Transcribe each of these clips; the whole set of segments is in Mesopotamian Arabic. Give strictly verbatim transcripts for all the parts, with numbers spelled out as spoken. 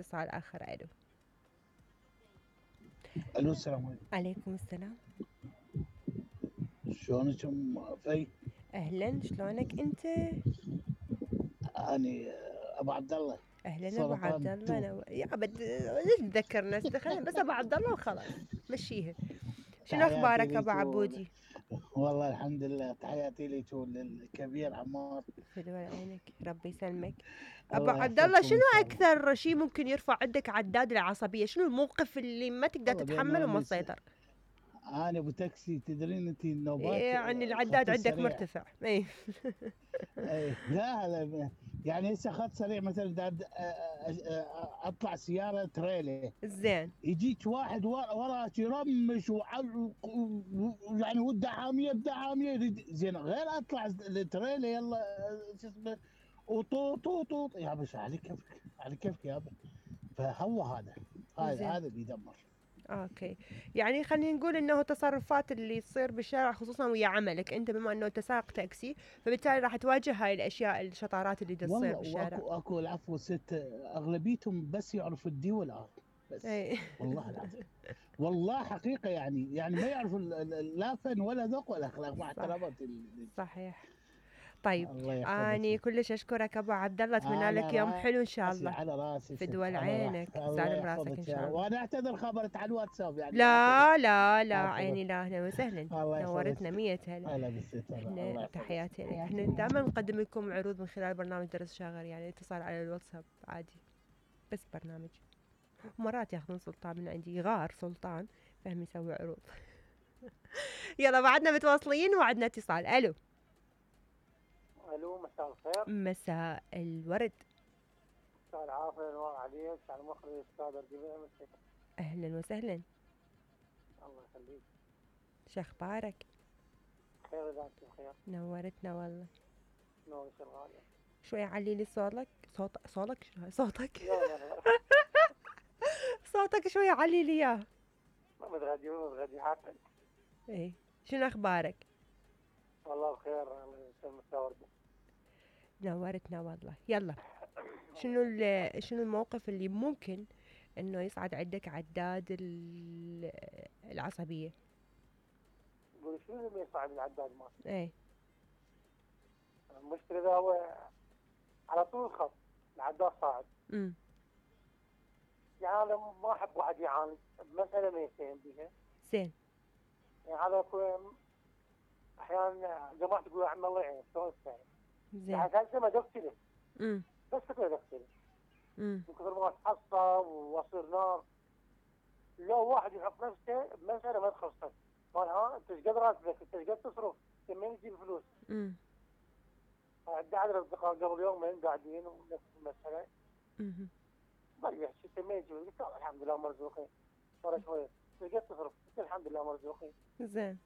اتصال آخر. ألو الو السلام عليكم. عليكم السلام. شلونك ام في؟ اهلا، شلونك انت؟ اني ابو عبد الله. اهلا ابو عبد الله. نو... يا بد تذكر نفسك بس ابو عبد الله وخلاص مشيها. شنو اخبارك ابو عبودي؟ والله الحمد لله. تحياتي لك وللكبير عمار. فدوى عينك، ربي يسلمك. ابو عبد الله، شنو اكثر شيء ممكن يرفع عندك عداد العصبيه؟ شنو الموقف اللي ما تقدر تتحمله وما تسيطر؟ انا ابو تاكسي، تدرين انت النوبات يعني العداد عندك مرتفع. اي اي لا لا يعني هسه خط سريع مثلا اطلع سياره تريلي زين، يجيك واحد وراك يرمش يعني وده حاميه بده حاميه زين، غير اطلع التريلي يلا شو اسمه وطوط طوط طوط يا بس على كيفك على كيفك يابا. فهو هذا هذا هذا اللي يدمر. اوكي، يعني خلينا نقول انه تصرفات اللي تصير بالشارع خصوصا ويا عملك انت، بما انه انت سائق تاكسي، فبالتالي راح تواجه هاي الاشياء الشطارات اللي تصير بالشارع. والله اكو اكو العفو ست، اغلبيتهم بس يعرفوا الدي والار بس. أي. والله العظيم والله حقيقه يعني يعني ما يعرفوا لا فن ولا ذوق ولا اخلاق مع احتراماتي. صحيح. طيب اني كلش اشكرك ابو عبد الله، اتمنى لك يوم حلو ان شاء الله. على راسي في دول عينك، سالم راسك ان شاء الله. وانا اعتذر خبرت على الواتساب يعني. لا لا لا عيني لا، اهلا وسهلا، نورتنا مية هلا. هلا بالست. احنا تحياتي لك. احنا دائما نقدم لكم عروض من خلال برنامج درس شاغر، يعني اتصال على الواتساب عادي بس برنامج. مرات ياخذون سلطان من عندي، غار سلطان فهم يسوي عروض. يلا بعدنا متواصلين وعدنا اتصال. الو الو مساء الخير. مساء الورد. مساء العافيه، نور عليك. على المخرج الاستاذ الربيع. اهلا وسهلا. الله يخليك. شو اخبارك؟ خير اذا انت بخير. نورتنا والله. نورك الغاليه. شوي علي لي صوتك. صوت صوتك شو صوتك؟ صوتك شوي علي لي اياه. ما متغدي ما متغدي حتى. ايه، شنو اخبارك؟ والله بخير، الله يسلمك يا ورده. نورتنا والله. يلا شنو شنو الموقف اللي ممكن انه يصعد عندك عداد العصبيه؟ قولي شنو اللي يصعد العداد مالك؟ ايه، المشكله اذا هو على طول الخط العداد صاعد. امم يعني انا ما احب واحد يعاند بمساله ما يتهم بيها. زين. يعني هذا احيانا جماعه تقول يا عم الله يعينك شلون تسوي؟ زين. يعني هسه ما دفتله. امم بس كذا دفتله. امم من كثر ما اتعصب واصير نار. لو واحد يحط نفسه بمساله ما تخصك، قال ها انت ايش قد راتبك؟ انت ايش قد تصرف؟ انت منين تجيب فلوس؟ امم عندي عدد اصدقاء قبل يومين قاعدين ونفس المساله. امم ضل يحكي انت منين تجيب؟ قلت له الحمد لله مرزوقين. صار شويه ايش قد تصرف؟ قلت الحمد لله مرزوقين. زين.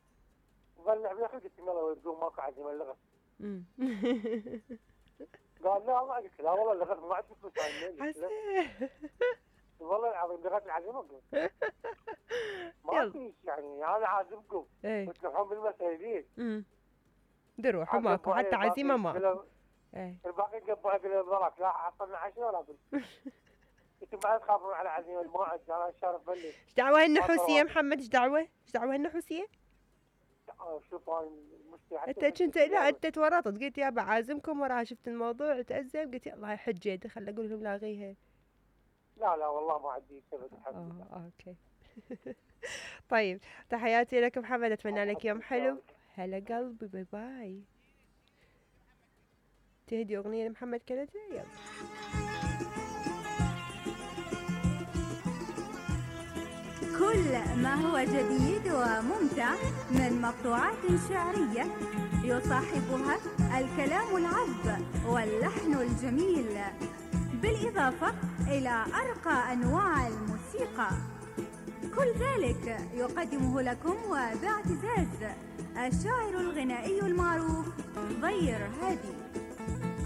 ظل لعب يا اخي قلت له يلا تقوم ماكو عزيمه اللغه. امم قال لا والله. قلت لا والله اللغه ما عندي فلوس هاي. والله العظيم لغت العزيمه قلت ما فيش يعني انا عازمكم وتروحون بالمساله ليش؟ امم دروح ماكو حتى عزيمه ماكو. ايه الباقي قبوا اقل الضرك لا حصلنا عشاء ولا بل. انتم بعد تخافون على عزيمه الموعد. انا الشارف بلش. ايش دعوه النحوسيه يا محمد؟ ايش دعوه؟ ايش دعوه النحوسيه؟ شوف انا المشكله انت كنت لا انت تورطت قلت يا بعازمكم وراها شفت الموضوع تأزم قلت يلا حجه خل اقول لهم لاغيها. لا لا والله ما عندي سبب الحمد لله. اه اوكي. طيب تحياتي لك محمد، اتمنى لك يوم حلو. هلا قلبي، باي باي. تهدي اغنيه لمحمد كندا. يلا كل ما هو جديد وممتع من مقطوعات شعريه يصاحبها الكلام العذب واللحن الجميل، بالإضافة إلى أرقى أنواع الموسيقى. كل ذلك يقدمه لكم وباعتزاز الشاعر الغنائي المعروف ضير هادي.